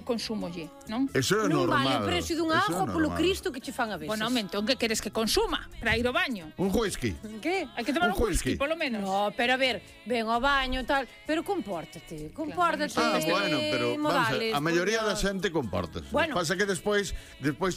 consúmolle, non? Eso é Non vale normal. o precio dunha auga polo Cristo que che fan a veces. Bueno, entón, que queres que consuma para ir ao baño? Un whisky. Que? Hai que tomar Un un whisky, whisky. polo menos. No, pero a ver, ven ao baño tal, pero compórtate. Bueno, pero vamos a ver, a maioría da xente. xente compórtase. Bueno. Pasa que despois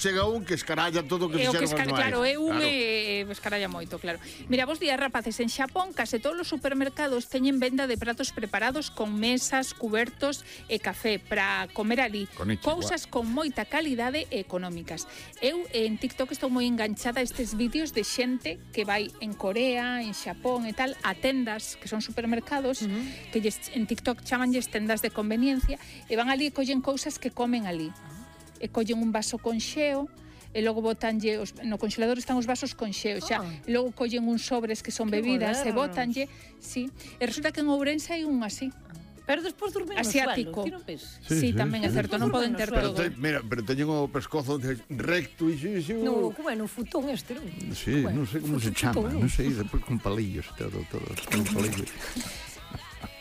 chega un que escaralla todo o que É o que fixeron os claro, é un Claro. escaralla moito, claro. Mira, vos días, rapaces, en Xapón case todos os supermercados teñen venda de pratos preparados con mesas, cubertos e café para comer ali. Konnichiwa. Cousas con moita calidade e económicas. Eu en TikTok estou moi enganchada a estes vídeos de xente que vai en Corea, en Xapón e tal, a tendas que son supermercados, que en TikTok chamanlles tendas de conveniencia, e van ali e collen cousas que comen ali. E collen un vaso con xeo, e logo botanlle no congelador están os vasos con xeo xa, e logo collen uns sobres que son Que bebidas e modernos. botanlle, sí, e resulta que en Ourense hai un así. Pero despois dormir no Asiático. suelo, ti non ves? Sí, tamén é certo, non poden ter Pero todo. pero teñen o pescozo recto e xixo. No, como é no futón este, non? Sí, non sei como se chama, futón. non sei, despois con palillos, todo, con palillos.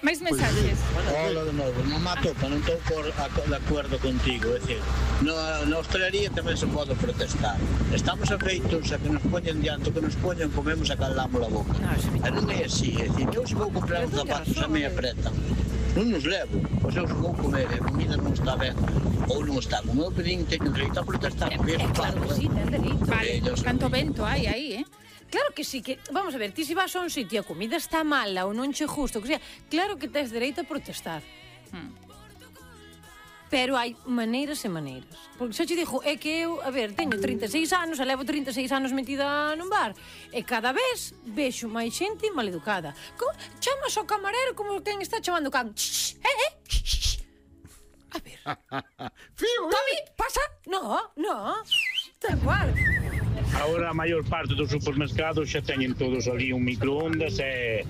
Máis mensajes. Hola de novo, non mato, non estou de acordo contigo. É dicir, na hostelería tamén se pode protestar. Estamos afeitos a que nos poñen diante, o que nos poñen, comemos e calamos a boca. E non é así, é dicir, eu se vou comprar uns zapatos a me apretan, non nos levo, pois eu se vou comer e a comida non está ben, ou non está, como eu pedín, teño dereito a protestar, porque é Claro que sí, ten delito. Vale, canto vento hai aí, Claro que sí, que vamos a ver, ti se vas a un sitio e a comida está mala ou non che justo, que sea, claro que tes dereito a protestar. Pero hai maneiras e maneiras. Porque xa te dixo, é que eu, a ver, teño 36 anos, e levo 36 anos metida nun bar, e cada vez vexo máis xente maleducada. Chamas ao camarero como quen está chamando o can. A ver. Fío, Tomi, pasa? No. Tal cual. Agora a maior parte dos supermercados xa teñen todos ali un microondas e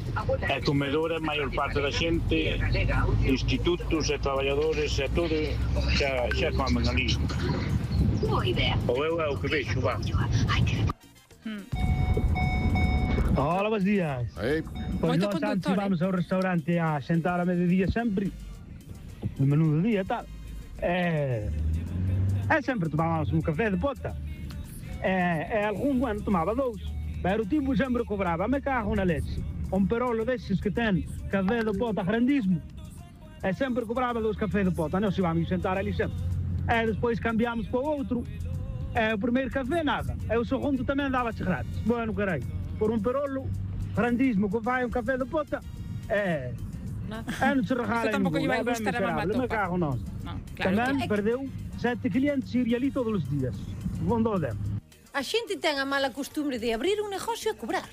comedores, a maior parte da xente, institutos e traballadores e todo xa comen ali. Ou eu é o que vexo, va. Hola, buenos días. Pois Moito nós antes conductor, vamos ao restaurante a sentar a mediodía sempre, no menú do día e tal. E sempre tomábamos un café de pota. E algún bueno tomaba dous. Pero o tipo sempre cobraba, me cago na leche. Un perolo desses que ten café de pota grandísimo. E sempre cobraba dous café de pota. Nós íbamos sentar ali sempre. E despois cambiamos para o outro. E o primeiro café nada. E o segundo tamén dava-se grátis. Bueno, caralho. Por un perolo grandísimo que vai un café de pota, non se regala Isto tampouco lle vai gustar a mamá me topa. cago nós. Tamén perdeu 7 clientes ir ali todos os días. Bondo dem. A xente ten a mala costumbre de abrir un negocio e cobrar.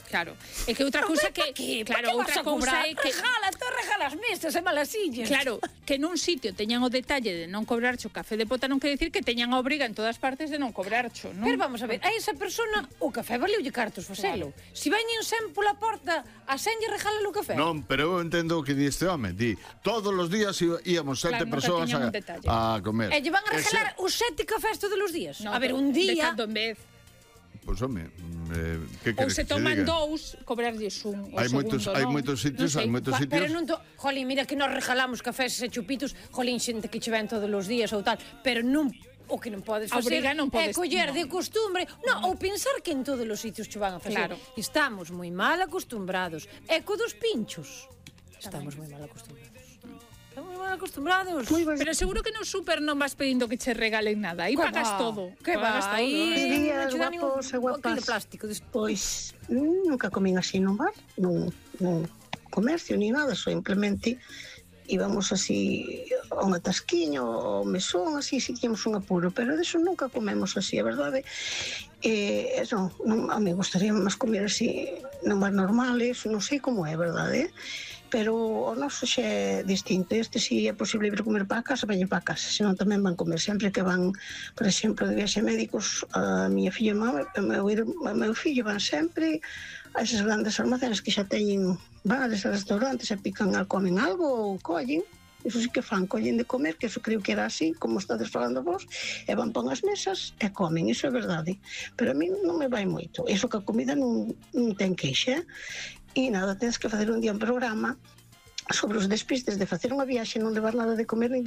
Claro, é que outra cousa que claro, outra cousa é que regala as mesas e malasillas. claro, que nun sitio teñan o detalle de non cobrarcho café de pota non quere dicir que teñan a obriga en todas partes de non cobrarcho, non? Pero vamos a ver, a esa persona o café valeulle cartos facelo. Si veñen sen pola porta, a senlle regálale o café. Non, pero eu entendo o que di este home. Di, todos os días íamos 7 Claro, nunca persoas tiñan un detalle. a comer. E lle van a regalar os 7 cafés todos os días. No, a ver, un de día... cando en vez. Pois, home, que Ou queres se que toman diga? dous, cobrarlles un. Hai moitos sitios, hai moitos sitios. Pero non jolín, mira que nos regalamos cafés e chupitos, jolín, xente que che ven todos os días ou tal, pero non o que non podes facer Obrigar non podes, é coller non. de costumbre, ou pensar que en todos os sitios che van a facer. Claro. Estamos moi mal acostumbrados. E co dos pinchos. Estamos moi mal acostumbrados. Estamos moi mal acostumbrados. Pero seguro que no super non vas pedindo que che regalen nada. Aí pagas todo. Que pagas va? todo. Aí días, guapos e guapas. de plástico. Pois nunca comín así nun bar, nun comercio ni nada, simplemente íbamos así a un atasquiño, ao mesón, así, si tínhamos un apuro, pero deso nunca comemos así, a verdade. Non, a mí gustaría máis comer así nun bar normal, eso non sei como é, verdade, pero o noso xa é distinto. Este si é posible ir comer para a casa, veñen para a casa, senón tamén van comer sempre que van, por exemplo, de viaxe médicos, a miña filla e o meu fillo van sempre a esas grandes almacenes que xa teñen bares e restaurantes e pican comen algo ou collen. Iso sí que fan, collen de comer, que eso creo que era así, como estades falando vos, e van pon as mesas e comen, iso é verdade. Pero a mí non me vai moito. Iso que a comida non ten queixa. E nada, tens que facer un día un programa sobre os despistes de facer unha viaxe, non levar nada de comer nin